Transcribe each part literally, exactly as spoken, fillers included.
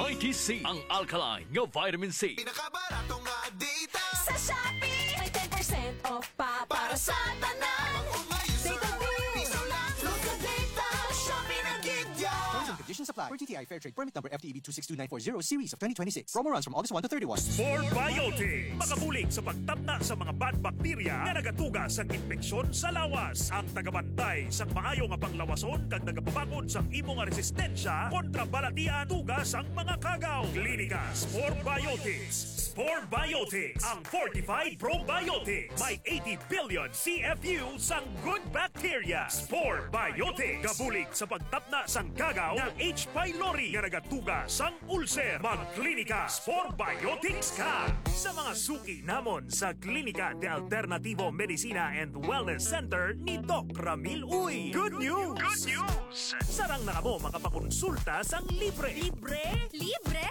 I T C, ang alkaline nga vitamin C. Pinakabarato nga data. Sa Shopee, may ten percent off pa para sa tanan. Ang umay sa Data bill. Piso lang. Local data. Shopee na gid ya. Terms and conditions apply. Per G T I Fair Trade Permit Number F T E B two six two nine four zero Series of twenty twenty-six. Promo runs from August one to thirty-one. Spore Biotics. Makabulig sa pagtapna sa mga bad bacteria nga nagatuga sa impeksyon sa lawas. Ang tagabantay sang maayo nga panglawason kag nagapabakod sang imo nga resistensya kontra balatian tuga sang mga kagaw. Klinika Spore Biotics. Spore Biotics, ang fortified probiotics. May eighty billion C F U sang good bacteria. Spore Biotics. Gabulig sa pagtapna sang kagaw nga H. pylori nga nagatuga sang ulcer. Magklinika Spore Biotics ka. Sa mga suki namon sa Klinika de Alternativo Medicina and Wellness Center ni Doc Ramil Uy. Good news! Good news! Sarang na kamo makapakonsulta sang libre. Libre? Libre!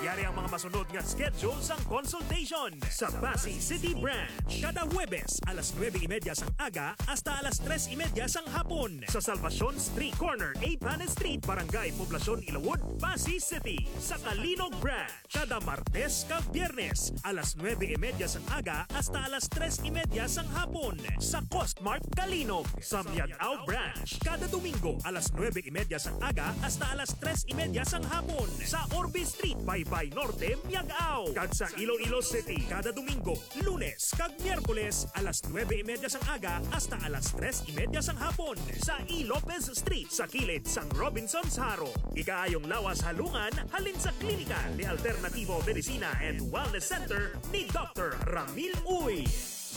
Yari ang mga masunod nga schedule sang consultation. Sa Passi City Branch, kada Huwebes alas nuebe y media sang aga hasta alas tres y media sang hapon. Sa Salvacion Street, corner eight Panes Street, Barangay Poblacion, Ilawod, Passi City. Sa Calinog Branch, kada Martes kag Biyernes, alas nuebe y media sang aga hasta alas tres y media sang hapon. Sa Costmart Calinog, sa Miag-ao Branch, kada Domingo, alas nuebe y media sang aga hasta alas tres y media sang hapon. Sa Orbe Street, Baybay Norte, Miag-ao. Kag sa Iloilo City, kada Domingo, Lunes kag Miyerkules, alas nuebe y media sang aga hasta alas tres y media sang hapon sa E. Lopez Street, sa kilid sang Robinsons Jaro. Ikaayong lawas halungan halin sa Klinika de Alternativo Medicina and Wellness Center ni Doctor Ramil Uy.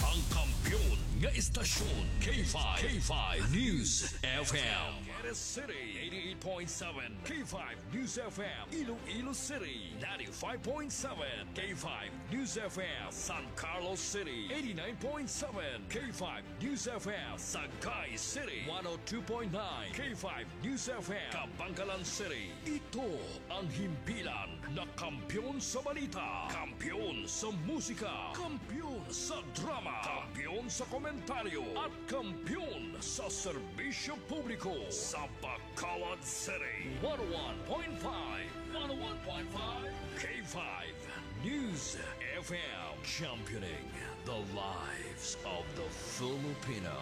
Ang kampiyon nga istasyon, K five, K five News F M. Angeles City, eighty-eight point seven, K five News F M. Iloilo City, ninety-five point seven, K five News F M. San Carlos City, eighty-nine point seven, K five News F M. Sagay City, one oh two point nine, K five News F M. Kabankalan City, ito ang himpilan na kampiyon sa balita, kampiyon sa musika, kampiyon sa drama, kampiyon sa komentaryo, at kampiyon sa serbisyo publiko. Sa Bacolod City, one oh one point five, one oh one point five, K five News F M, championing the lives of the Filipino.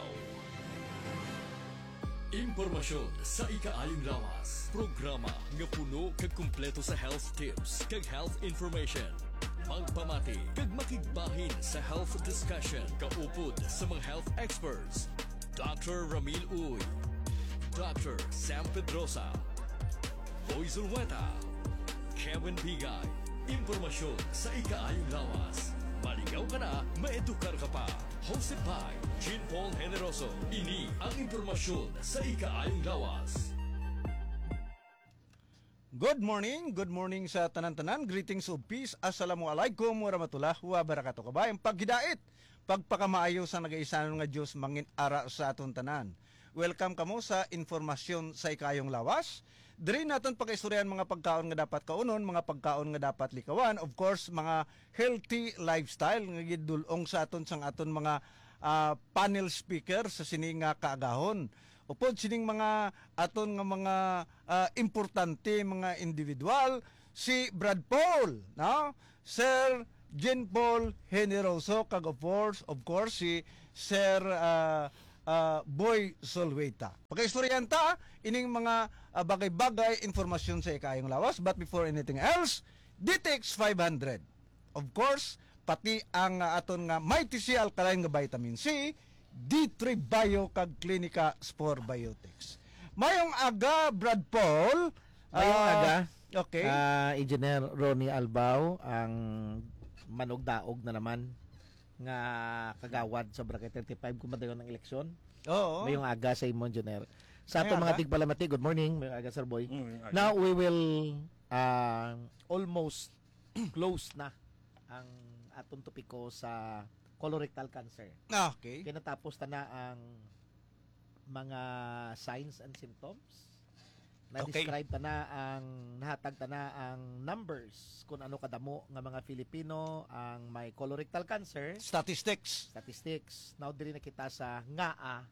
Impormasyon sa ikaayong lawas. Programa nga puno kag kumpleto sa health tips kag health information. Magpamati kag makigbahin sa health discussion kaupod sa mga health experts. Doctor Ramil Uy, Doctor Sam Pedrosa, Boy Zulueta, Kevin Bigay. Impormasyon sa ikaayong lawas. Maligaw ka na, maedukar ka pa. Hosted by Jean Paul Generoso. Ini ang impormasyon sa ikaayong lawas. Good morning, good morning sa tanan-tanan. Greetings of peace. Assalamualaikum warahmatullahi wabarakatuh. Kabay, ang paghidait, pagpakamaayo sa nagaisanon nga Dios mangin ara sa aton tanan. Welcome kamo sa informasyon sa ikaayong lawas. Diri naton pagaistoryahan mga pagkaon nga dapat kaunon, mga pagkaon nga dapat likawan, of course, mga healthy lifestyle nga gidul-ong sa aton sang aton mga, ah, panel speaker sa sini nga kaagahon. Upod sining mga aton nga mga, ah, importante, mga individual, si Brad Paul, no? Sir Jean Paul Generoso, kag of course, of course, si Sir, ah, ah, Boy Solweta. Pagaistoryahan ta ining mga, ah, bagay-bagay, informasyon sa ikaayong lawas. But before anything else, D T X five hundred. Of course, pati ang, ah, aton nga Mighty C Alkaline nga Vitamin C, D three Bio kag Klinika Spore Biotics. Mayong aga, Brad Paul. Mayong Ah, aga. Okay. Ah, Engineer Ronnie Albao, ang manugdaog na naman nga kagawad sa Barangay thirty-five kung madayon ang eleksyon. Oo. Mayong aga sa imo, Engineer. Sa Mayong aton mga aga. tigpalamati, good morning. Mayong aga, Sir Boy. Mm, mayong aga. Now, we will, ah, almost close na ang aton topiko sa colorectal cancer. Ah, okay. Kay natapos ta na ang mga signs and symptoms. Okay. Na-describe ta na ang, nahatag ta na ang numbers kung ano kadamo nga mga Filipino ang may colorectal cancer. Statistics. Statistics. Now, diri na kita sa ngaa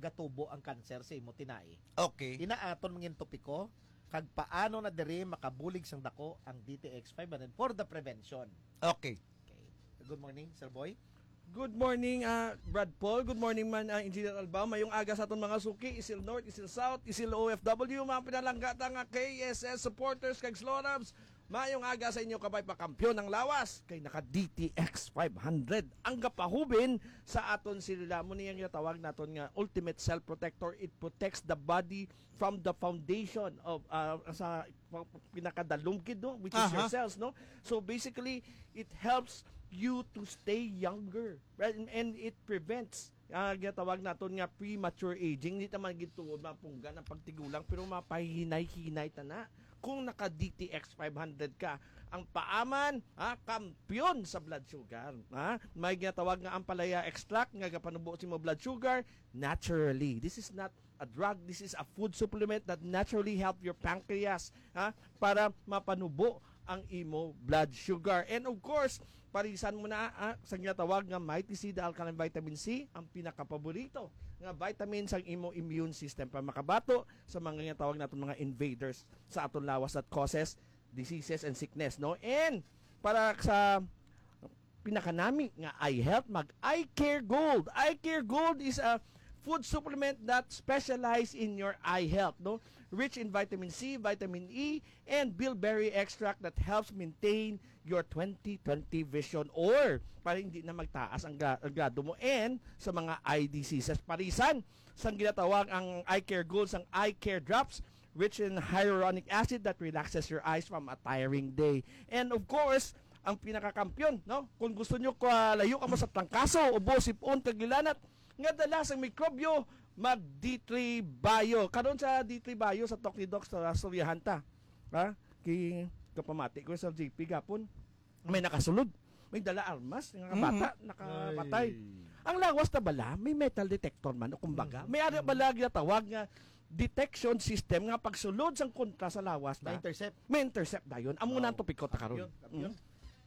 gatubo ang cancer sa imo tinai. Okay. Ina aton mangin topiko, kag paano na diri makabulig sang dako ang D T X five hundred for the prevention. Okay. Okay. Good morning, Sir Boy. Good morning, ah, Brad Paul. Good morning man, ah, Engineer Albao. Mayong aga sa aton mga suki, Isil North, Isil South, Isil O F W, mga pinalangga ta nga K S S supporters kag Slorabs. Mayong aga sa inyo, kabay pa, kampiyon ang lawas kay naka D T X five hundred ang gapahubin sa aton selula. Mo niyang ginatawag naton nga ultimate cell protector. It protects the body from the foundation of, ah, sa pinakadalumgid, no, which is your Aha. cells, no. So basically, it helps you to stay younger, right? And it prevents, ah, ginatawag naton nga premature aging. Hindi naman gituod mapunggan ang pagtigulang, pero mapahinay-hinay ta na kung naka D T X five hundred ka. Ang paaman, ah, kampiyon sa blood sugar, ha? May ginatawag nga ampalaya extract nga gapanubo sa imo blood sugar naturally. This is not a drug. This is a food supplement that naturally help your pancreas, ha, para mapanubo ang imo blood sugar. And of course, parisan mo na, ah, sa ginatawag nga Mighty C, the alkaline vitamin C, ang pinakapaborito nga vitamin sa imo immune system para makabato sa mga ginatawag naton mga invaders sa aton lawas that causes diseases and sickness, no? And para sa pinakanami nga eye health, mag Eye Care Gold. Eye Care Gold is a food supplement that specialize in your eye health, no? Rich in vitamin C, vitamin E, and bilberry extract that helps maintain your twenty twenty vision, or para hindi na magtaas ang, gra- ang grado mo and sa mga eye diseases. Parisan sang ginatawag ang Eye Care Gold sang Eye Care Drops, rich in hyaluronic acid that relaxes your eyes from a tiring day. And of course, ang pinakakampiyon, no? Kung gusto nyo ka layo ka mo sa trangkaso, ubo, sipon, kag lilanat, nga dala sang mikrobyo, mag D three Bio. Karon sa D three Bio sa Talk ni Doc sa Suryahan ta. Ha? Kay kapamati ko sa J P gapon. May nakasulod. May dala armas, nga Mhm. bata, nakapatay. Ang lawas na bala, may metal detector man, o kumbaga. May ara bala ginatawag nga detection system nga pagsulod sang kontra sa lawas na. Ma-intercept. May intercept dayon. Amo na ang Oh, topiko ta karon. Yun, yun.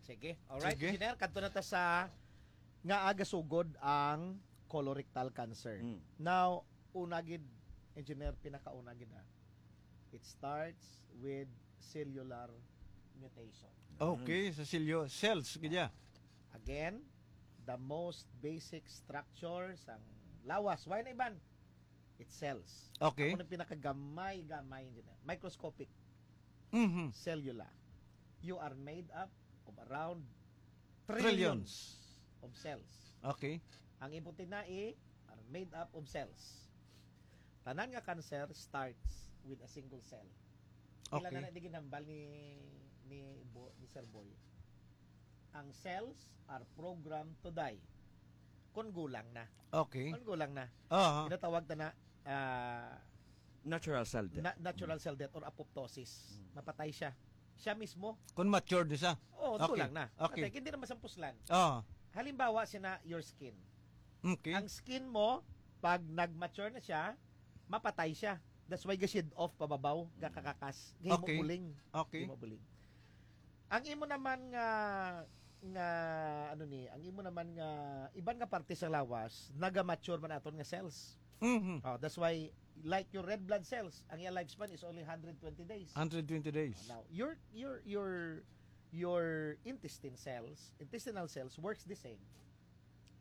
Sige. Alright, Sige. Engineer, kadto na ta sa nga aga sugod ang colorectal cancer. Mm. Now, una gid, Engineer, pinakauna gid na. It starts with cellular mutation. Okay, sa silyo, cells, gidya. Again, the most basic structure sang lawas. Why na iban? It's cells. Okay. Ako na pinakagamay-gamay, Engineer. Microscopic. Mhm. Cellula. You are made up of around trillions, Trillions. of cells. Okay. Ang imo tinai are made up of cells. Tanan nga cancer starts with a single cell. Pila Okay. na na di ginhambal ni ni Bo, ni Sir Boy. Ang cells are programmed to die. Kung gulang na. Okay. Kung gulang na. Aha. Ginatawag ta na ah, Natural cell death. na- natural cell death or apoptosis. Mapatay siya. Siya mismo. Kung matured siya. Oh, Okay. gulang na. Okay. Patay, hindi na masampuslan. Ah. Halimbawa, sina your skin. Okay. Ang skin mo, pag nag-mature na siya, mapatay siya. That's why ga-shed off pababaw, gakakakas, gahimo Okay. buling. Okay. Gahimo buling. Ang imo naman nga nga ano ni, ang imo naman nga iban nga parte sa lawas, naga-mature man aton nga cells. Mhm. Oh, that's why, like, your red blood cells, ang iyang lifespan is only one hundred twenty days. Hundred twenty days. Now, your your your your intestine cells, intestinal cells works the same.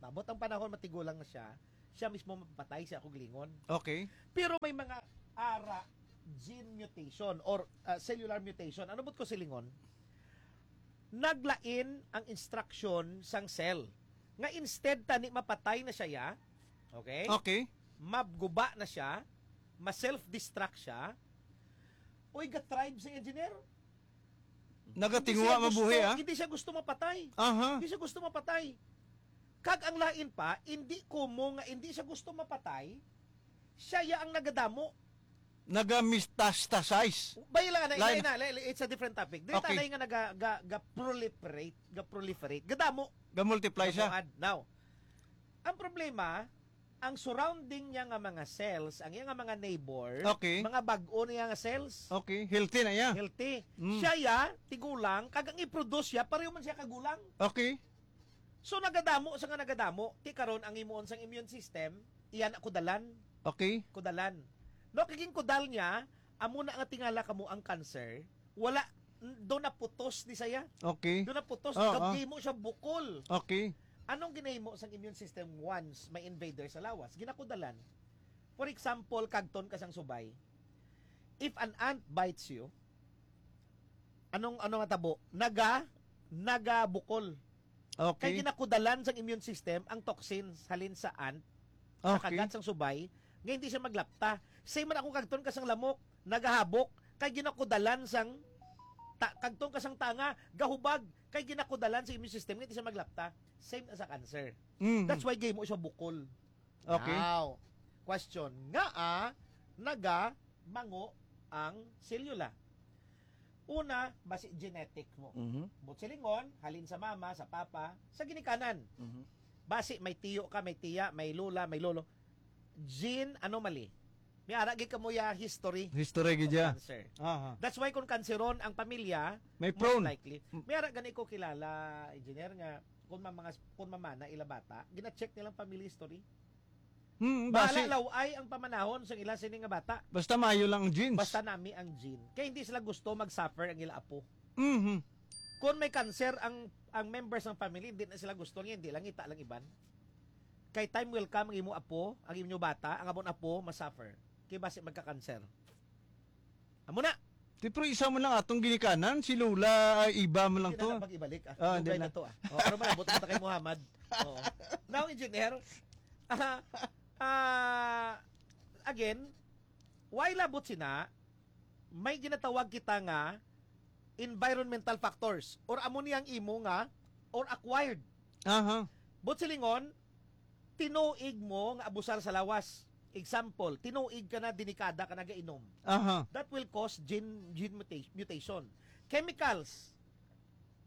Mabot ang panahon, matigulang na siya, siya mismo mapatay siya, akong lingon. Okay. Pero may mga ara gene mutation or uh, cellular mutation. Ano bot ko silingon? Naglain ang instruction sang cell. Nga instead tani mapatay na siya, ya, okay? Okay. Mabguba na siya, ma-self-destruct siya. Uy, ga-thrive si Engineer. Nagatinguha mabuhi, ah. Hindi siya gusto mapatay. Aha. Hindi siya gusto mapatay. Kag ang lain pa, hindi kumo nga hindi siya gusto mapatay, siya ya ang nagadamo. Naga-metastasize. Bay lang na, Lain. Lain na, lain- it's a different topic. Dili Okay. Talay nga naga, ga, ga-proliferate, ga-proliferate. Gadamo. Ga-multiply siya. Gamuad. Now, ang problema, ang surrounding niya nga mga cells, ang iya nga mga neighbor, Okay. mga bag-o niya nga cells, Okay. Healthy na iya. healthy. Mm. Siya ya, tigulang, kag ang i-produce siya, pareho man siya kagulang. Okay. So nagadamo sa nga nagadamo, ti karon ang himuon sang immune system, iya na kudalan, Okay. kudalan. No, kaging kudal niya, Amo na nga tingala kamo ang cancer, wala, do na putos ni saya. Okay. Do na putos, Oo. Gahimo siya bukol. Okay. Anong ginahimo sang immune system once may invader sa lawas? Ginakudalan. For example, kagton ka sang subay. If an ant bites you, anong ano nga tabo? Naga nagabukol. Kay Okay. Ginakudalan sang immune system ang toxins halin sa ant, sa Okay. kagat sang subay, nga hindi siya maglapta. Same man ako, kagton ka sang lamok, nagahabok, kay ginakudalan sang ta, kagton ka sang tanga, gahubag, kay ginakudalan sa immune system nga hindi siya maglapta. Same na sa cancer. Mhm. That's why gahimo siya bukol. Okay. Now, question, ngaa naga mango ang selula? Una, basi genetic mo. Mhm. Buot silingon, halin sa mama, sa papa, sa ginikanan. Mhm. Basi may tiyo ka, may tiya, may lola, may lolo. Gene anomaly. May ara gid kamo ya history History gid of ya. Cancer. Aha. That's why kung kanseron ang pamilya, May most prone. Likely. May ara gani ko kilala, engineer, nga kung ma-, mga kung mamana ila bata, gina-check nilang family history. Hmm, Bahala basi. Laway ang pamanahon sa ila sini nga bata. Basta maayo lang ang genes. Basta nami ang gene. Kay hindi sila gusto mag-suffer ang ila apo. Mhm. Kung may cancer ang ang members ng family, hindi na sila gusto niya, hindi lang ita lang iban. Kay time will come ang imo apo, ang inyo bata, ang amon apo ma-suffer. Kay basi magka-cancer. Amo na. Ti, pero isa mo lang atong ginikanan, si Lola, ay, iba mo lang Hindi to. Na mag-ibalik, ah. Ah, hindi Dugay na. Na to, ah. Oh, pero malabot na kay Muhammad. Oo. Now, engineer, ah, ah, again, why labot sina? May ginatawag kita nga environmental factors or amo niyang imo nga or acquired. Aha. Buot silingon, tinuig mo nga abusar sa lawas. Example, tinuig ka na, denikada ka nagainom. Aha. That will cause gene, gene muta-, mutation. Chemicals,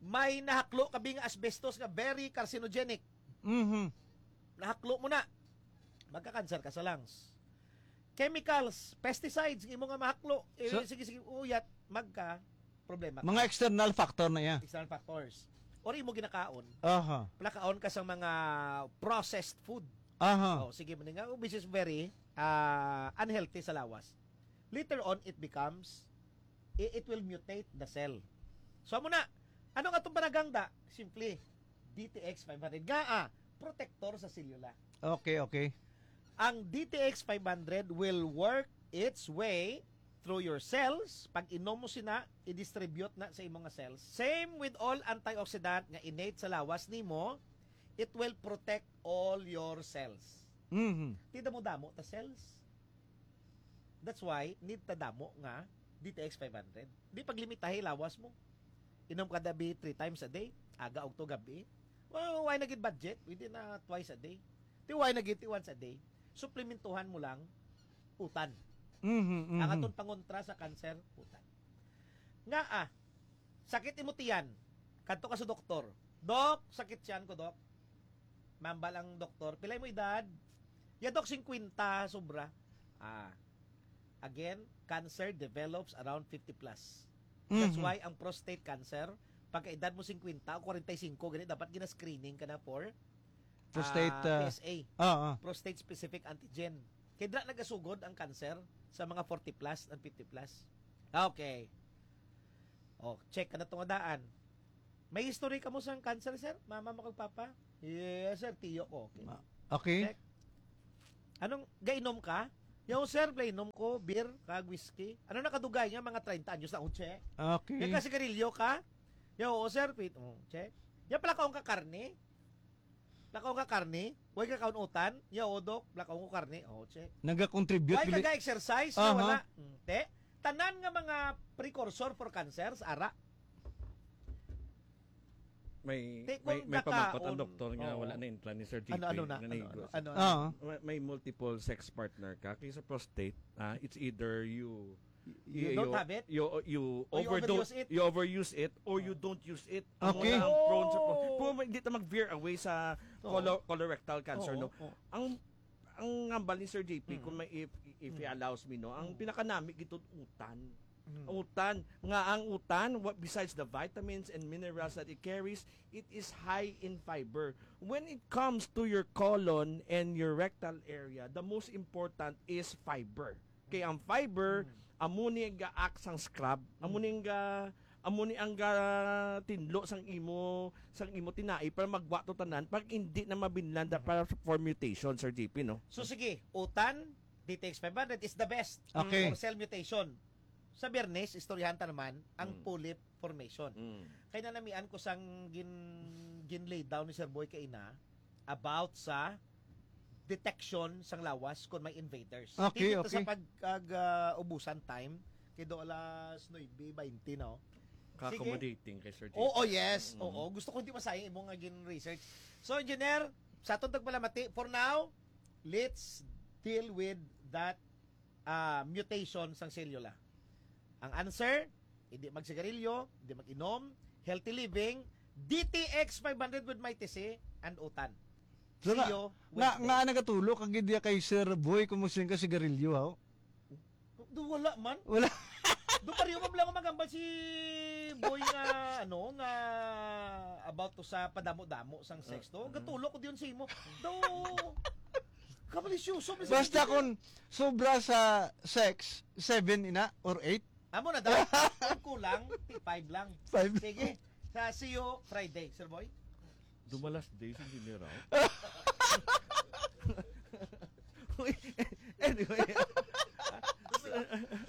may nahaklo ka bi nga asbestos nga very carcinogenic. Mhm. Nahaklo mo na. Magka-cancer ka sa lungs. Chemicals, pesticides, imo nga mahaklo. Eh, So- sige, sige, uyat, magka problema ka. Mga external factor na iya. External factors. Or imo ginakaon. Aha. Nakaon ka sa mga processed food. Aha. Oh, sige man nga, which is very ah, unhealthy sa lawas. Later on, it becomes, i- it will mutate the cell. So, amo na. Ano nga itong panagangda? Simple. D T X five hundred. Nga, ah, protector sa selula. Okay, okay. Ang D T X five hundred will work its way through your cells. Pag inom mo sina, i-distribute na sa imong nga cells. Same with all antioxidant nga innate sa lawas nimo, it will protect all your cells. Mhm. Ti damo-damo ta cells. That's why need ta damo nga D T X five hundred. Di paglimitahi lawas mo. Inom ka dabi three times a day, aga ug to gabi. Well, why na gid budget? Pwede na twice a day. Ti why na gid ti once a day? Suplementuhan mo lang utan. Mhm, mhm. Ang aton pangontra sa cancer, utan. Nga ah, sakit imo tiyan. Kadto ka sa doktor. Dok, sakit tiyan ko, Dok. Mambal ang doktor, pila mo edad? Ya, Dok, singkwenta, sobra. Ah. Again, cancer develops around fifty plus. That's Mhm. Why ang prostate cancer, pagka edad mo singkwenta o kwarenta y singko, gani dapat gina-screening ka na for Prostate, ah, ah, P S A. Ah, ah. Prostate specific antigen. Kay dra nagasugod ang cancer sa mga forty plus and fifty plus. Okay. Oh, check ka na tong daan. May history ka mo sa cancer, sir? Mama mo kag papa? Yes, sir. Tiyo ko. Okay. Ma- Okay. Check. Anong gainom ka? Yo, sir, play inom ko, beer, kag whiskey. Ano nakadugay nga mga treinta anyos na, oh, check. Okay. Nagkasigarilyo ka? Yo, oo, sir, pit, oh, check. Ya pala kaon ka karne? Nakaon ka karne? Way ka kaon utan? Yo, oo, dok, nakaon ko karne. Oh, check. Nagakontribute Way ka bili- ga-exercise? Aha. Wala. Mm, te, tanan nga mga precursor for cancer, ara. May, Te, may, kung may pamangkot nakaon- ang doktor nga Oo. Wala na intlan ni Sir J P. Ano, ano na? Ano, Nanigo ano, siya. ano, Ah. May, may multiple sex partner ka. Kay sa prostate, ah, it's either you You don't have it? You, you Or you overdo- overuse it? You overuse it or you don't use it. Amo Okay. na ang prone sa pro- Oh. Pero hindi ta mag-veer away sa Oo. colo- colorectal cancer, Oo, no? oo. Ang ang hambal ni Sir J P, Mm. kung may, if, if he Mm. allows me, no, ang Mm. pinakanami gitod utan. Mm. Utan. Nga ang utan, what, besides the vitamins and minerals that it carries, it is high in fiber. When it comes to your colon and your rectal area, the most important is fiber. Kay ang fiber, Mm. Amo ni ang ga-act sang scrub. Amo ni ang ga-, amo ni ang ga-, tinlo sang imo, sang imo tinai para magwa to tanan, pag hindi na mabinlan da para for mutation, Sir J P, no? So, sige, utan, D T X five hundred is the best. Okay. For cell mutation. Sa Biyernes, istoryahan ta naman ang Mm. polyp formation. Mm. Kay nanamian ko sang gin-, gin-lay down ni Sir Boy kaina about sa detection sang lawas kon may invaders. Okay, Titito sa okay. pag-, ag, ah, ubusan time, kay do alas nuebe baynte, no? Sige. Ka-accommodating kay Sir J P. Oo, yes. Mm. Oo, gusto ko hindi masayang imo nga gin-research. So, Engineer, sa atong tagpalamati, for now, let's deal with that, ah, mutation sang selula. Ang answer, hindi magsigarilyo, hindi mag-inom, healthy living, D T X five hundred with Mighty C, and utan. So, See nga, you nga, Wednesday. Nga nagatulo kag idea kay Sir Boy kung musin ka sigarilyo, haw? Do, wala man. Wala. Do, pareho man lang magambal si Boy nga, ano, nga about to sa padamo-damo sang sex to. Mm. Gatulo ko diyon sa imo. Do, kabalisyoso man sa Basta imo. Kung sobra sa sex, seven ina or eight? Amo na daw. Ang kulang, ti five lang. Five. Sige. Sa, see you Friday, Sir Boy. Dumalas day si General. Uy, anyway.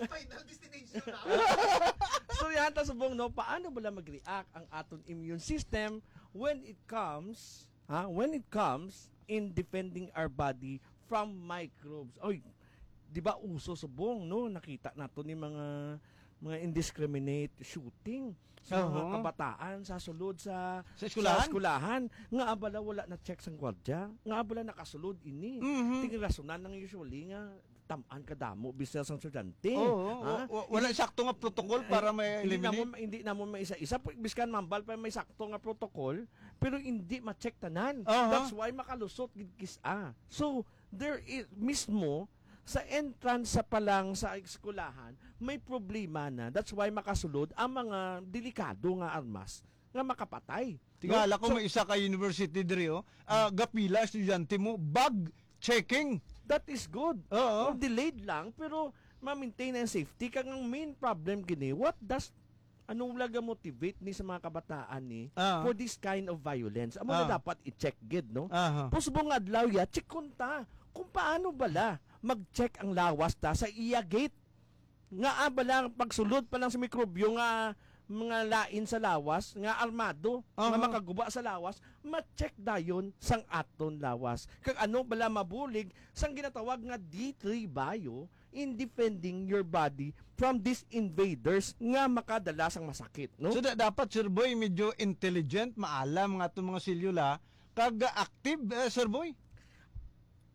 Final destination na. So, yan, ta subong, no? Paano bala mag-react ang aton immune system when it comes, ha? When it comes in defending our body from microbes. Oy, di ba uso subong, no? Nakita nato ni mga, mga indiscriminate shooting sa mga Oho. kabataan sa sulod sa, Sa eskwelahan? sa eskwelahan. Nga abala wala na check sang gwardya. Nga abala nakasulod ini. Mhm. Ting rasonan nang usually nga tam-an kadamo bisag sang estudyante. Oo, Ha? wa-, wa-, wala Hindi, sakto nga protocol para hindi, hindi ma-eliminate. namon, hindi namon maisa-isa. Pu-, biskan mambal pa may sakto nga protocol, pero hindi ma-check tanan. Aha. That's why makalusot gid kis-a. So, there is, mismo sa entrance sa pa lang sa eskwelahan, may problema na. That's why makasulod ang mga delikado nga armas nga makapatay. Tingala No? ko So, may isa ka university diri, oh. Ah, gapila estudyante mo, bag checking. That is good. Oo. Kung delayed lang, pero ma-maintain ang safety. Kag ang main problem gini, what does, ano laga motivate ni sa mga kabataan ni Ah. for this kind of violence? Amo na Ah. dapat i-check gid, no? Aha. Pusbong adlaw ya, check ta kung paano bala mag-check ang lawas ta sa iya gate. Nga, ah, bala, pagsulod pa lang sa mikrobyo nga mga lain sa lawas, nga armado, nga Aha. makaguba sa lawas, ma-check dayon sang aton lawas. Kag ano bala mabulig sang ginatawag nga D three bio in defending your body from these invaders nga makadala sang masakit, no? So, da-, dapat, Sir Boy, medyo intelligent, maalam nga atong mga selula, kag active, eh, Sir Boy?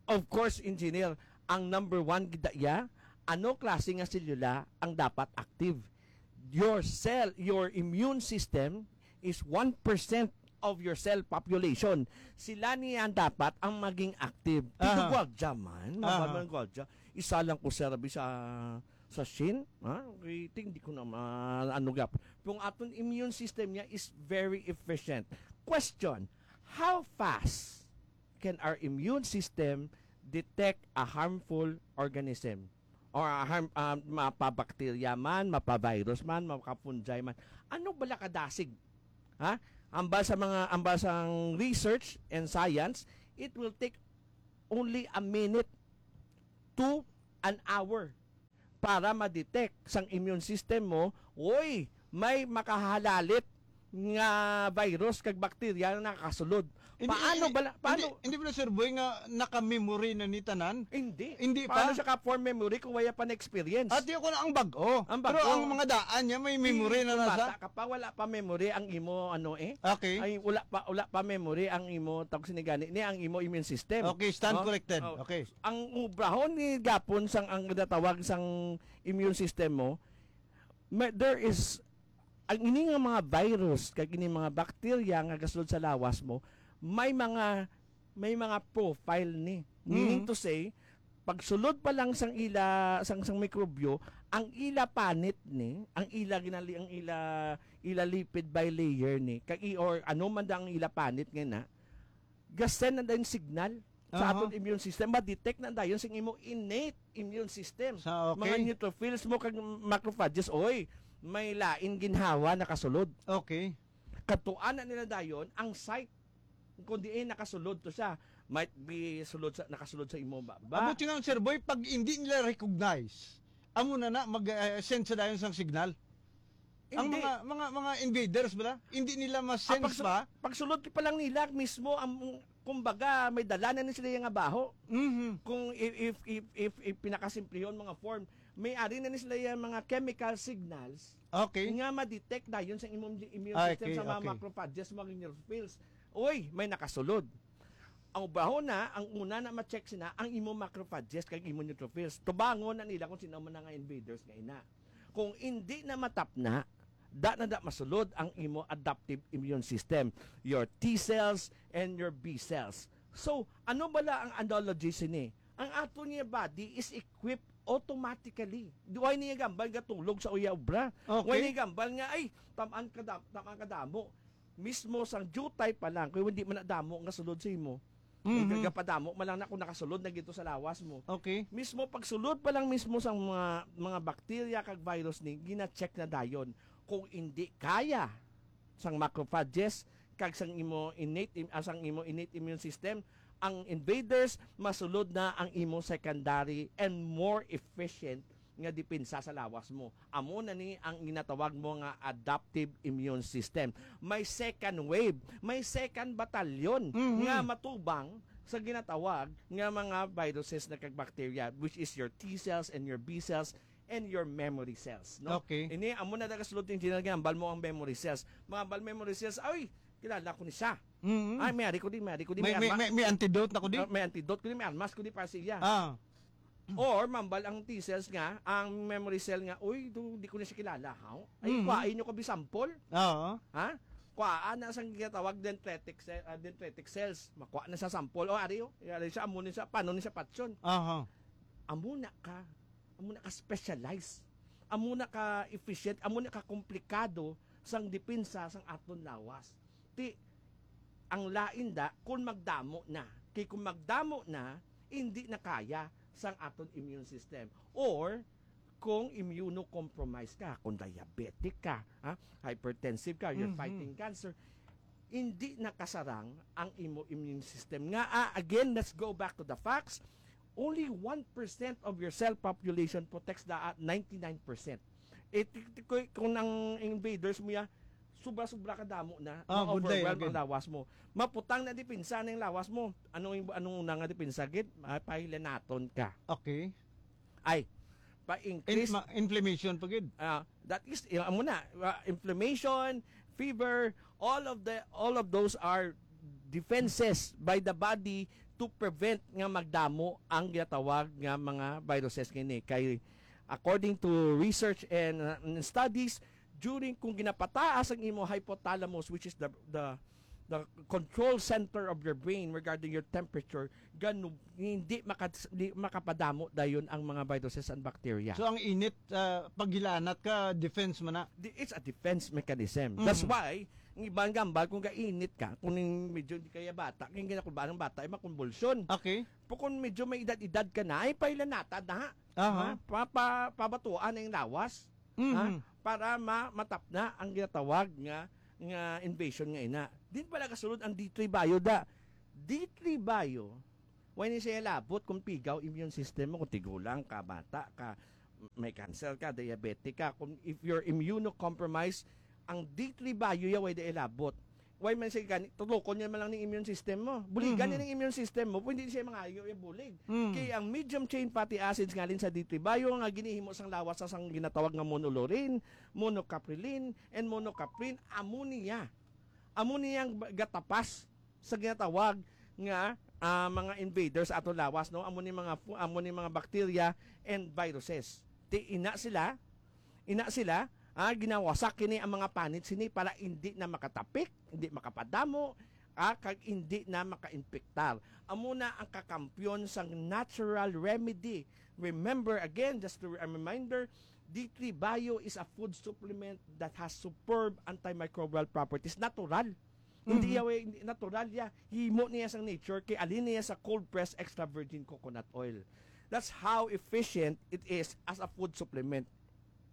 Of course, Engineer, ang number one gid iya, ano klase nga selula ang dapat active? Your cell, your immune system is one percent of your cell population. Sila niya dapat ang maging active. Dito Aha. gwardiya man, Aha. mabal man gwardiya. Isa lang ko, sir, abi sa, sa Shin, ha? Okay, ting, di ko na ma-, ano gap. Kung aton immune system niya is very efficient. Question, how fast can our immune system detect a harmful organism? Or a harm, ah, mapa-bacteria man, mapa-virus man, mapa-fungi man. Ano bala kadasig? Ha? Ambal sa mga, ambal sang research and science, it will take only a minute to an hour para ma-detect sang immune system mo, oy, may makahalalit nga virus kag bakterya na nakasulod. Hindi, Paano hindi, bala-, paano? hindi, hindi bala, Sir Boy, nga naka-memory na ni tanan? Hindi. Hindi Paano pa? siya ka-form memory kung wala pa na-experience? At yun ko na ang bag-o. Ang Pero bag-o. ang mga daan niya, may memory Hindi, na kung nasa. bata ka pa, wala pa memory ang imo, ano eh. Okay. Ay, wala pa, wala pa memory ang imo, tawag sini gani, ni ang imo immune system. Okay, stand No? corrected. Oh. Okay. Ang obrahon ni gapon sang, ang ginatawag sang immune system mo, may, there is, ang ini nga mga virus, kag ini mga bakterya nga gasulod sa lawas mo, may mga, may mga profile ni. Meaning Mm. to say, pagsulod pa lang sang ila, sang, sang mikrobyo, ang ila panit ni, ang ila ginali, ang ila, ila lipid bilayer ni, kag i-, or ano man da ang ila panit nga na, ga-send na din signal. sa Aha. aton immune system, ma-detect na dayon sing imo innate immune system. Sa, okay. Mga neutrophils mo kag macrophages, oy, may lain ginhawa nakasulod. Okay. Kadtuan na nila dayon ang site kung diin nakasulod to siya. Might be sulod sa, nakasulod sa imo baba. Amo tinang, Sir Boy, pag hindi nila recognize, amo na na, mag-send sa dayon sang signal. Ang Hindi. mga mga mga invaders bala, hindi nila Ah, ma-sense pagsu- pa. Pagsulod pa lang nila mismo ang, kumbaga, may dala na ni sila nga baho. Mhm. Kung if if if if, if pinakasimplihon mga form, may ari na ni sila yung mga chemical signals Okay. nga ma-detect dayon sa imong immune Ah, system okay, sa mga okay. Macrophages, mga neutrophils. Uy, may nakasulod. Ang baho na, ang una na ma-check sina ang imong macrophages kag imong neutrophils. Tubangon na nila kung sino man nga invaders nga ina. Kung hindi na matapna, da na da masulod ang imo adaptive immune system, your T cells and your B cells. So, ano bala ang analogy sini? Ang ato niya body is equipped automatically. Wala niya gambal nga tulog sa uya obra. Okay. Wala niya gambal nga, ay, tamaan ka dam-, tamaan ka damo. Mismo sang jutay pa lang, kung hindi man na damo nga sulod sa imo, Mhm. gapadamo man lang na kung nakasulod na gito sa lawas mo. Okay. Mismo pagsulod pa lang mismo sang mga mga bakterya kag virus ni gina-check na dayon kung hindi kaya sang macrophages kag sang imo innate im- ah, sang imo innate immune system, ang invaders, masulod na ang imo secondary and more efficient nga depensa sa lawas mo. Amo na ni ang ginatawag mo nga adaptive immune system. May second wave, may second batalyon Mhm. nga matubang sa ginatawag nga mga viruses na kag bacteria, which is your T cells and your B cells and your memory cells, no? Okay. Ini amo na nagasulod yung general nga ambal mo ang memory cells. Mga ambal memory cells, ay, kilala ko ni siya. Mhm. Ay, may ari ko di, may ari ko di, May, may, arma- may, may antidote na ko di. Ah, may antidote ko di, may armas ko di para sa iya. Ah. Or mambal ang T cells nga, ang memory cell nga, uy, do, di ko na siya kilala, ha? Ay, Mhm. kuhain nyo ko bi sample. Oo. Ha? Kuhaan na sang ginatawag dendritic cell, ah, dendritic cells. Makuha na sa sample. O, ari, oh. Ari siya, amo ni siya, paano ni siya patyon? Aha. Amo na ka, amo na ka specialized. Amo na ka efficient, amo na ka komplikado sang depensa sang aton lawas. Ti, ang lain da, kung magdamo na. Kay kung magdamo na, hindi na kaya sang aton immune system. Or, kung immunocompromised ka, kung diabetic ka, ha, hypertensive ka, you're Mhm. fighting cancer, hindi nakasarang ang imo immune system. Nga, ah, again, let's go back to the facts. Only one percent of your cell population protects the ah, ninety-nine percent. Eh, ti- ti- kung, kung ang invaders mo ya, sobra-sobra ka damo na, Ah, good day, ma-overwhelm good. Ang lawas mo. Maputang na depensa na yung lawas mo. Anong, anong una nga depensa, gid? Ah, pahilanaton ka. Okay. Ay, In, pa-increase. ma- inflammation pa gid. Ah, that is, yung, amo na, ah, inflammation, fever, all of the all of those are defenses by the body to prevent nga magdamo ang ginatawag nga mga viruses kini. Kay according to research and, uh, and studies, during kung ginapataas ang imo hypothalamus, which is the the the control center of your brain regarding your temperature, ganu hindi maka, di makapadamo dayon ang mga viruses and bacteria. So ang init, ah, paghilanat ka, defense man na. Di- it's a defense mechanism. Mhm. That's why, ang ibang gambal, kung kainit ka, kung yung medyo hindi kaya bata, kung ginakulbaan ng bata, ay makonvulsyon. Okay. Pero kung medyo may edad-edad ka na, ay pailanata na. Aha. Ha? Pa, pa, pabatuan na yung lawas. Mhm. Ha? Para ma, matap na ang ginatawag nga nga invasion nga ina. Din pala kasulod ang D three Bio da. D three Bio, why ni siya labot kung pigaw immune system mo, kung tigulang ka, bata ka, may cancer ka, diabetic ka, kung if you're immunocompromised, ang D three Bio ya way da ilabot. Why man siya gani, tutukon niya man lang ning immune system mo. Buligan Mhm. niya ning immune system mo, pwede siya mangayo yung bulig. Mhm. Kay ang medium chain fatty acids ngalin sa D three Bio nga ginihimo sang lawas sa sang ginatawag nga monolaurin, monocaprilin, and monocaprin, amo niya. Amo niya ang ba- gatapas sa ginatawag nga, ah, mga invaders sa aton lawas, no? Amo ni mga fu- amo ni mga bacteria and viruses. Ti ina sila, ina sila, ah, ginawasak kini ang mga panit sini para hindi na makatapik, hindi makapadamo, ah, kag hindi na makainpektar. Amo na ang kakampiyon sang natural remedy. Remember again, just to, a reminder, D three Bio is a food supplement that has superb antimicrobial properties. Natural. Hindi Mhm. yaw, eh, hindi, natural ya. Himo niya sa nature, kay alin niya sa cold press extra virgin coconut oil. That's how efficient it is as a food supplement.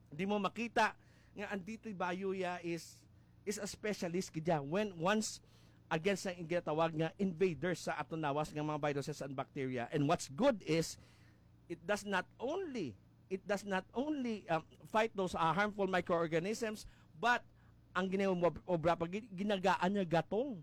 Di mo makita nga ang D three Bio ya is is a specialist gid ya when once against sa ginatawag nga invaders sa aton lawas nga mga viruses and bacteria. And what's good is it does not only it does not only um, fight those uh, harmful microorganisms, but ang ginaobra pa gid, ginagaan niya gatong,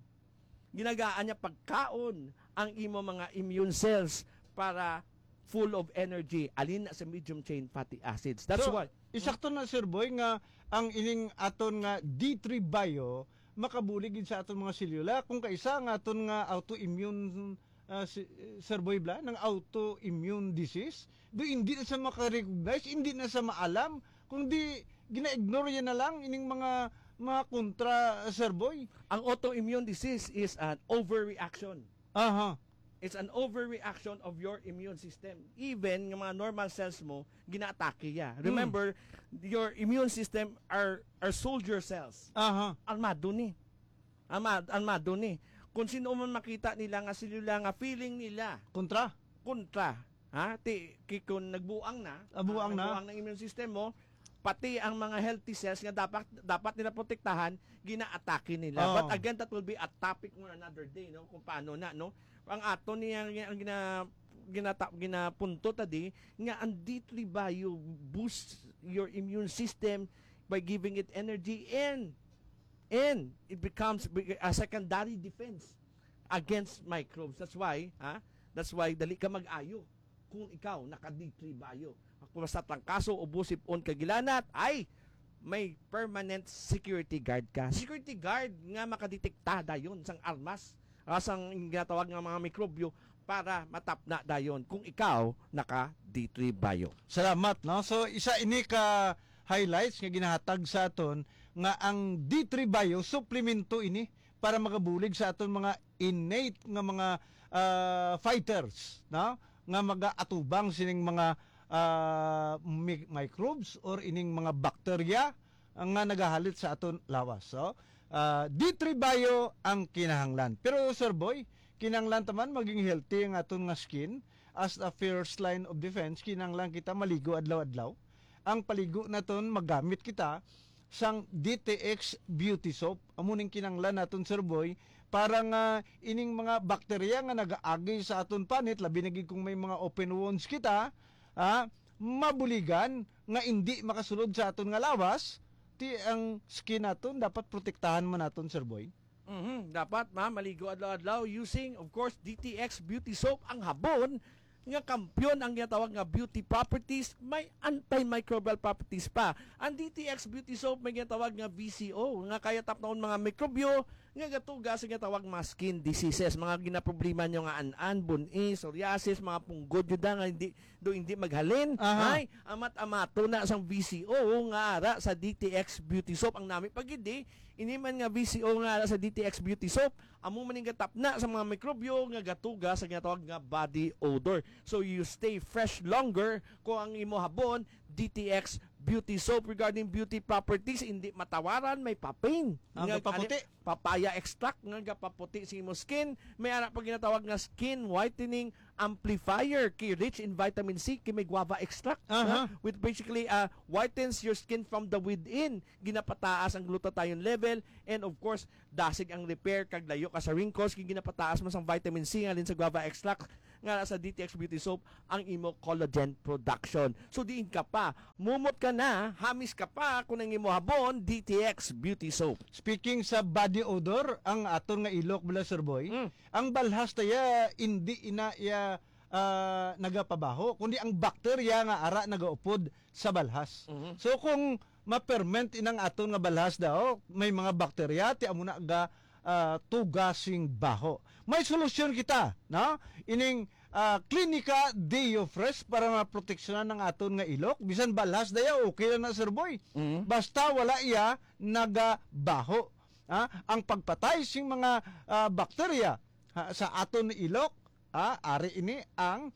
ginagaan niya pagkaon ang imo mga immune cells para full of energy, alin na sa medium chain fatty acids. That's So, why isakto na, Sir Boy, nga ang ining aton nga D three Bio makabulig gid sa aton mga selula kung kaisa nga aton nga autoimmune, ah, si, Sir Boy, bla, ng autoimmune disease. Do hindi na sa makarecognize, hindi na sa maalam, kundi gina-ignore yan na lang ining mga mga kontra, Sir Boy. Ang autoimmune disease is an overreaction. Aha. It's an overreaction of your immune system. Even nga mga normal cells mo, ginaatake ya. Remember, your immune system are are soldier cells. Aha. Armado ni. Arma, armado ni. Kung sino man makita nila nga selula nga feeling nila Kontra. kontra, ha? Ti ki-, kung nagbuang na, Ah, buang ah, na. nagbuang ang immune system mo, pati ang mga healthy cells nga dapat dapat nila protektahan, ginaatake nila. Oh. But again, that will be a topic for another day, no? Kung paano na, no? Ang ato niya ang gina ginata, ginapunto tadi nga ang D three Bio boosts your immune system by giving it energy, and and it becomes a secondary defense against microbes. That's why, ha? That's why dali ka mag-ayo kung ikaw naka D three Bio. Kung basta trangkaso, ubo, sipon, kag gilanat, ay may permanent security guard ka. Security guard nga makadetekta dayon sang armas, ah, sang ginatawag nga mga mikrobyo para matapna dayon kung ikaw naka D three Bio. Salamat, no? So, isa ini ka highlights nga ginahatag sa aton nga ang D three Bio suplemento ini para magabulig sa aton mga innate nga mga, ah, fighters, no? Nga magaatubang sining mga, ah, mi-, microbes or ining mga bakterya nga nagahalit sa aton lawas. So, ah, D three Bio ang kinahanglan. Pero, Sir Boy, kinahanglan ta man maging healthy ang aton nga skin. As a first line of defense, kinahanglan kita maligo adlaw-adlaw. Ang paligo naton, magamit kita sang D T X Beauty Soap. Amo ning kinahanglan naton, Sir Boy, para nga ining mga bakterya nga nagaagi sa aton panit, labi na gid kung may mga open wounds kita, ah, mabuligan nga indi makasulod sa aton nga lawas, ti ang skin naton dapat protektahan man naton, Sir Boy. Mhm, dapat ma maligo adlaw-adlaw using, of course, D T X Beauty Soap, ang habon nga kampiyon ang ginatawag nga beauty properties, may antimicrobial properties pa. Ang D T X Beauty Soap may ginatawag nga V C O, nga kaya tapnaon mga mikrobyo nga gatuga sa ginatawag mga skin diseases, mga ginaproblema nyo nga an-an, bun-i, psoriasis, mga punggod yun nga hindi do hindi maghalin. Aha. Ay, amat-amato na sang V C O nga ara sa D T X Beauty Soap. Ang nami pa gid, eh, ini man nga V C O nga ara sa D T X Beauty Soap, amo man ning gatapna sa mga mikrobyo nga gatuga sa ginatawag nga body odor. So you stay fresh longer kung ang imo habon D T X Beauty Soap. Regarding beauty properties, hindi matawaran, may papain. Ang Nga, gapaputi. ani, papaya extract nga gapaputi sa imo skin. May ara pa ginatawag nga skin whitening amplifier, kay rich in vitamin C, kay may guava extract, Aha. no? Which basically, uh, whitens your skin from the within. Ginapataas ang glutathione level, and of course, dasig ang repair kag layo ka sa wrinkles, kay ginapataas man sang vitamin C nga halin sa guava extract nga sa D T X Beauty Soap ang imo collagen production. So diin ka pa, mumot ka na, hamis ka pa kung ang imo habon D T X Beauty Soap. Speaking sa body odor, ang aton nga ilok bala, Sir Boy, Mm. ang balhas ta ya, hindi ina ya, ah, nagapabaho, kundi ang bakterya nga ara nagaupod sa balhas. Mhm. So kung ma-ferment inang aton nga balhas daw, may mga bakterya ti amo na ga, ah, tuga sing baho. May solusyon kita, no? Ining, ah, Clinica Deo Fresh para maproteksyonan ang aton nga ilok. Bisan balhas daya, okay lang na, Sir Boy. Mhm. Basta wala iya nagabaho. Ha? Ang pagpatay sing mga, ah, bakterya, ha, sa aton ilok, ha, ari ini ang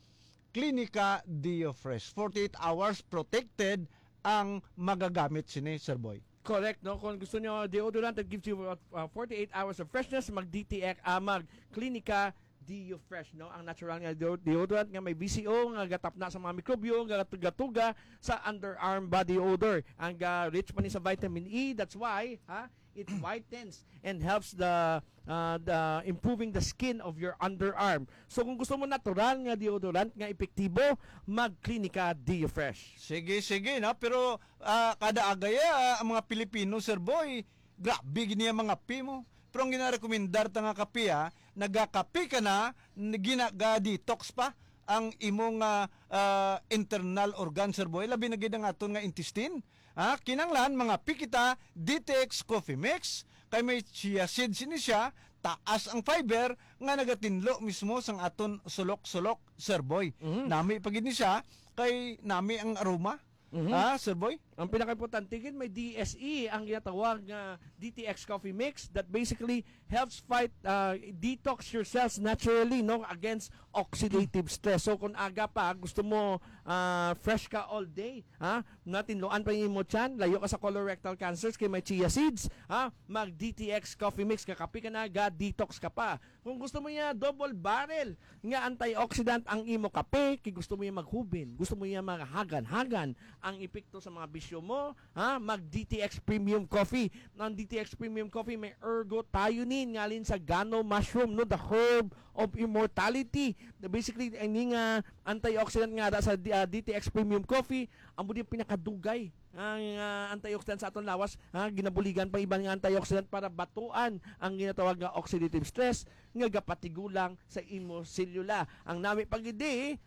Clinica Deo Fresh. Forty-eight hours protected ang magagamit sini, Sir Boy. Correct, no? Kung gusto nyo deodorant that gives you uh, uh, forty-eight hours of freshness, mag D T X, ah, mag Clinica Deo Fresh, no? Ang natural nga deo- deodorant nga may V C O nga gatapna sa mga mikrobyo, nga gatuga-tuga sa underarm body odor. Ang uh, rich man ni sa vitamin E, that's why, ha? It whitens and helps the uh, the improving the skin of your underarm. So kung gusto mo natural nga deodorant nga epektibo, mag Clinica Deo Fresh. Sige, sige, no? Pero ah, kada agaya, ah, ang mga Pilipino, Sir Boy, grabe gid niya mga kape mo. Pero ang ginarekomendar ta nga kape, ah, nagakape ka na, n- ginaga-detox pa ang imong ah, ah, internal organ, Sir Boy. Labi na gid ang aton nga intestine. Ha? Kinanglan, mga pikita, D T X Coffee Mix, kay may chia seeds ini siya, taas ang fiber nga nagatinlo mismo sang aton sulok-sulok, Sir Boy. Mhm. Nami pa gid ni siya, kay nami ang aroma. Mhm. Ha, Sir Boy? Ang pinakaimportante gid, may D S E ang ginatawag nga D T X Coffee Mix that basically helps fight, uh, detox your cells naturally, no, against oxidative stress. So kung aga pa gusto mo, uh, fresh ka all day, ha, natinluan pa yung imo tiyan, layo ka sa colorectal cancers kay may chia seeds, ha, mag D T X Coffee Mix, kakape ka na, ga detox ka pa. Kung gusto mo niya double barrel nga antioxidant ang imo kape, kay gusto mo niya maghubin, gusto mo niya maghagan-hagan ang epekto sa mga bisyo mo, ha? Mag D T X Premium Coffee. Ang D T X Premium Coffee may ergothioneine ngalin sa gano mushroom, no, the herb of immortality. Basically, ini nga antioxidant nga ada sa D- ah, D T X Premium Coffee, amo din pinakadugay ang ah, antioxidant sa aton lawas, ha, ginabuligan pa iban nga antioxidant para batuan ang ginatawag nga oxidative stress nga gapatigulang sa imo selula. Ang nami pa gid,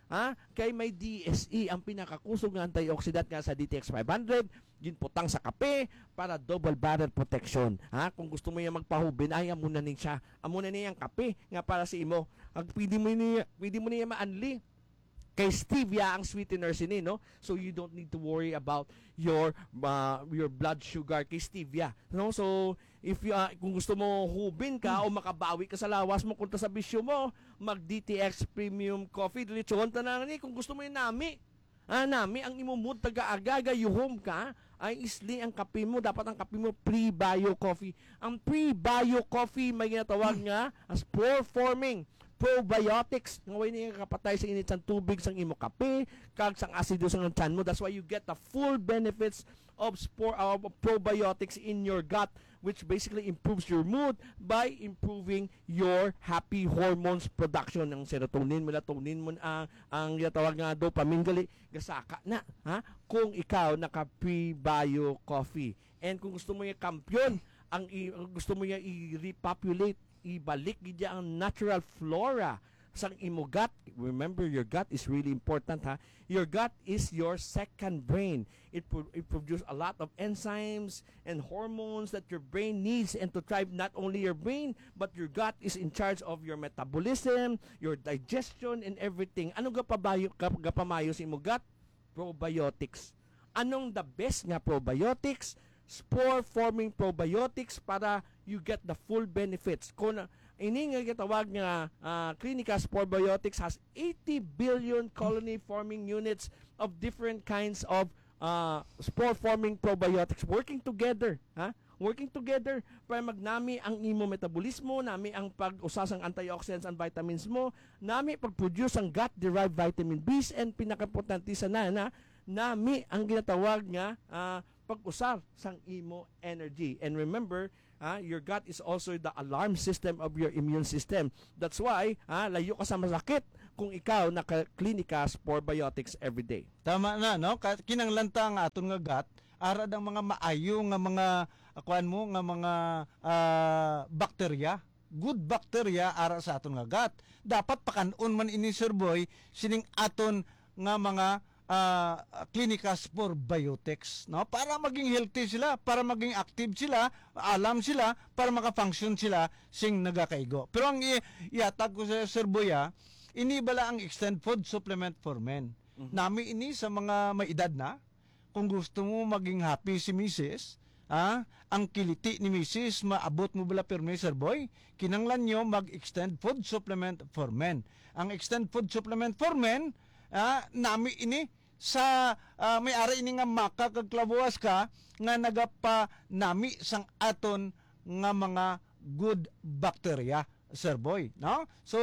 ha, kay may D S E, ang pinakakusog nga antioxidant nga sa D T X five hundred, ginputang sa kape para double barrel protection. Ha, kung gusto mo yung magpahubin, ay amo na ni siya. Amo na ni ang kape nga para sa imo. Ang pwede mo niya, pwede mo niya maanli kay stevia ang sweetener sini, no? So you don't need to worry about your uh, your blood sugar kay stevia, no? So if you, uh, kung gusto mo hubin ka o makabawi ka sa lawas mo kontra sa bisyo mo, mag D T X Premium Coffee. Diretsohon ta na ni kung gusto mo yung nami. Ah, nami ang imo mood taga-aga, gayuhom ka, ay isli ang kape mo. Dapat ang kape mo pre-bio coffee. Ang pre-bio coffee may ginatawag nga as spore-forming probiotics nga way niya kapatay sa init sang tubig sang imo kape kag sang asido sang tiyan mo. That's why you get the full benefits of spore of probiotics in your gut, which basically improves your mood by improving your happy hormones production. Ang serotonin, melatonin mo, ang ang ginatawag nga dopamine gali gasaka na, ha, kung ikaw naka prebio coffee. And kung gusto mo yung kampiyon, ang i- gusto mo yung i-repopulate, ibalik gid ang natural flora sang imo gut. Remember, your gut is really important, ha. Your gut is your second brain. It pro- it produces a lot of enzymes and hormones that your brain needs and to thrive. Not only your brain, but your gut is in charge of your metabolism, your digestion, and everything. Ano gapabayo, gap- gapamayo sa imo gut? Probiotics. Anong the best nga probiotics? Spore forming probiotics para you get the full benefits. Kung uh, ini nga gitawag nga uh, Clinicas Probiotics has eighty billion colony forming units of different kinds of uh, spore forming probiotics working together, ha? Working together para magnami ang imo metabolismo, nami ang pag-usa sang antioxidants and vitamins mo, nami pag-produce ang gut-derived vitamin Bs, and pinakaimportante sa na, na nami ang ginatawag nga ah, pag-usar sang imo energy. And remember, ah, your gut is also the alarm system of your immune system. That's why, ah, layo ka sa masakit kung ikaw naka-Clinicas Probiotics every day. Tama na, no? Ka- Kinanglan ta ang aton nga gut, ara ang mga maayo nga mga, ah, kuan mo, nga mga ah, bakterya, good bacteria ara sa aton nga gut. Dapat pakan-on man ini, Sir Boy, sining aton nga mga ah, Clinicas Probiotics, no? Para maging healthy sila, para maging active sila, alam sila, para maka-function sila sing nagakaigo. Pero ang i- ihatag ko sa Sir Boy, ah, ini bala ang Extend Food Supplement for Men. Mhm. Nami ini sa mga may edad na. Kung gusto mo maging happy si misis, ah, ang kiliti ni misis, maabot mo bala pirmi, Sir Boy? Kinanglan nyo mag-Extend Food Supplement for Men. Ang Extend Food Supplement for Men, ah, nami ini sa, ah, may ara ini nga maka kag klabuas ka nga nagapanami sang aton nga mga good bacteria, Sir Boy, no? So,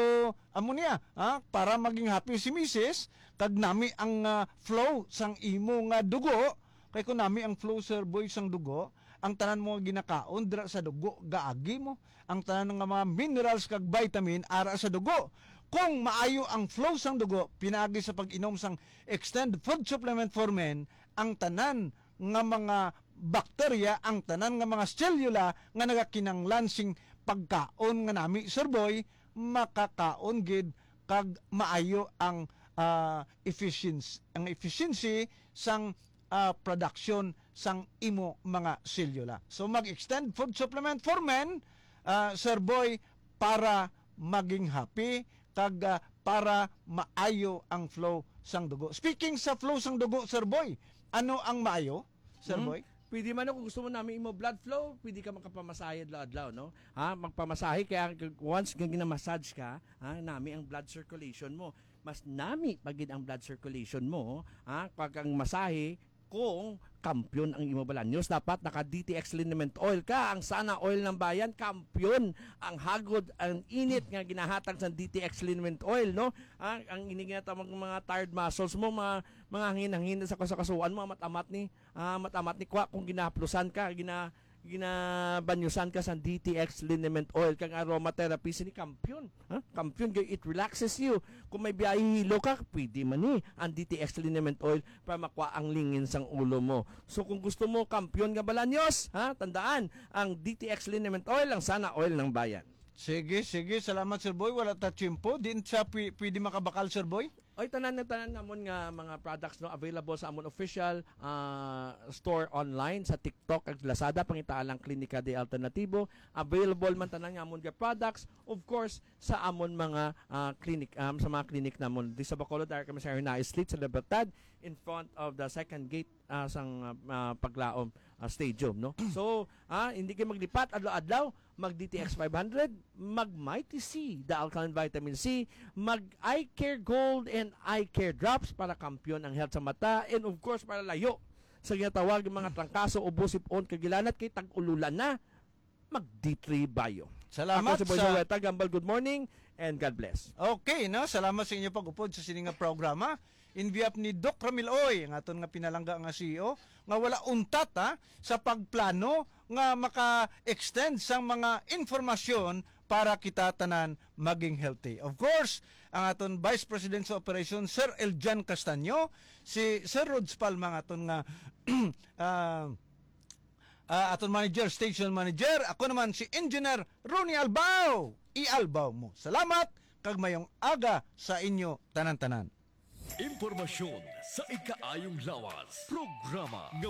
amo niya, ha? Para maging happy si misis, kag nami ang, ah, flow sang imo nga dugo, kay kung nami ang flow, Sir Boy, sang dugo, ang tanan mo nga ginakaon dira sa dugo gaagi mo, ang tanan nga mga minerals kag vitamin ara sa dugo. Kung maayo ang flow sang dugo, pinaagi sa pag-inom sang Extend Food Supplement for Men, ang tanan nga mga bakterya, ang tanan nga mga selula nga nagakinanglan sing pagkaon nga nami, Sir Boy, makakaon gid kag maayo ang, ah, efficiency, ang efficiency sang, ah, production sang imo mga selula. So, mag-Extend Food Supplement for Men, ah, Sir Boy, para maging happy kag, ah, para maayo ang flow sang dugo. Speaking sa flow sang dugo, Sir Boy, ano ang maayo, Sir Hmm? Boy? Pwede man, no, kung gusto mo nami imo blood flow, pwede ka makapamasahe adlaw-adlaw, no? Ha, magpamasahe, kaya once nga ginamassage ka, ha, nami ang blood circulation mo. Mas nami pa gid ang blood circulation mo, ha? Pag ang masahe, kung kampiyon ang imo balanyos, dapat naka D T X liniment oil ka. Ang Sana Oil ng Bayan, kampiyon ang hagod, ang init nga ginahatag sa D T X liniment oil, no? Ah, ang ini nga tawag mga tired muscles mo, mga, mga hangin-hangin sa kasukasuan mo, amat-amat ni, ah, amat-amat ni kwa kung ginahaplusan ka, gina, ginabanyusan ka sa D T X liniment oil, kang aromatherapy, sini kampiyon, ha? Kampiyon, kay it relaxes you. Kung may biyahe hilo ka, pwede man ni ang D T X liniment oil para makuha ang lingin sang ulo mo. So, kung gusto mo kampiyon nga balanyos, ha, tandaan, ang D T X liniment oil, ang Sana Oil ng Bayan. Sige, sige. Salamat, Sir Boy. Wala ta tiyempo. Din sa pwi-, pwede makabakal, Sir Boy? Oy, tanan na tanan namon nga mga products, no, available sa amon official, ah, store online sa TikTok ag Lazada, pangitaa lang Klinika de Alternativo. Available man tanan nga amon nga products, of course, sa amon mga, ah, clinic, um, sa mga clinic namon. Di sa Bacolod, dahil kami sa Hernaez Street sa Libertad, in front of the second gate, ah, sang, ah, ah, Paglaom, ah, Stadium, no? So, ah, hindi kayo maglipat adlaw-adlaw, mag D T X five hundred, mag Mighty C, the alkaline vitamin C, mag Eye Care Gold and Eye Care Drops para kampiyon ang health sa mata, and of course, para layo sa ginatawag nga mga trangkaso, ubo, sipon, kagilanat kay tag-ululan na, mag D three Bio. Salamat. Ako si Boy sa Joel Tagambal. Good morning and God bless. Okay, no? Salamat sa inyo pag-upod sa sini nga programa. In behalf ni Doc Ramil Oy, ang aton nga pinalangga nga C E O, nga wala untat, ha, sa pagplano nga maka-extend sang mga informasyon para kita tanan maging healthy. Of course, ang aton Vice President sa Operation, Sir Eljan Castaño, si Sir Rods Palma, ang aton nga, ah, ah, aton manager, station manager. Ako naman si Engineer Ronnie Albao. I-Albao mo. Salamat, kag mayong aga sa inyo tanan-tanan. Impormasyon sa ikaayong lawas. Programa nga